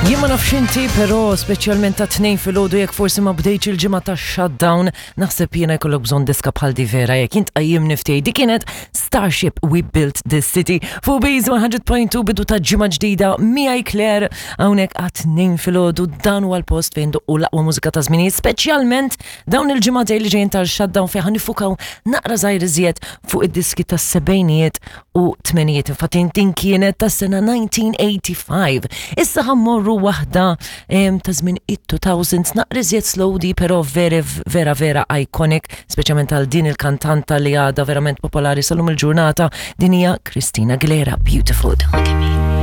Jien ma nafx inti, però speċjalment ta' tnejn filgħodu jekk forsi ma bdejtx il-ġimgħa ta' shutdown, naħseb jiena jkollok bżonn diska bħal di vera jekk int qajjim niftej. Di kienet Starship We Built This City fuq Base 100.2 bidu ta' ġimgħa ġdida miegħi Claire hawnhekk għat tnejn filgħodu dan huwa l-post fejn doqqu l-aqwa mużika ta' żminijiet, speċjalment dawn il-ġimgħatej li ġejjin tal-shutdown fejn ħanifukaw naqra żgħir iżjed fuq id-diski tas-sebgħinijiet u tmenijiet. Infatti din kienet tas-sena 1985. Issa ħammorru waħda ta' żmien it-2000s naqra iżjed slow di però veri vera vera iconic, speċjalment għal din il-kantanta li għadha verament popolari sal-lum il-ġurnata, din hija Christina Aguilera, Beautiful. Don't look at me.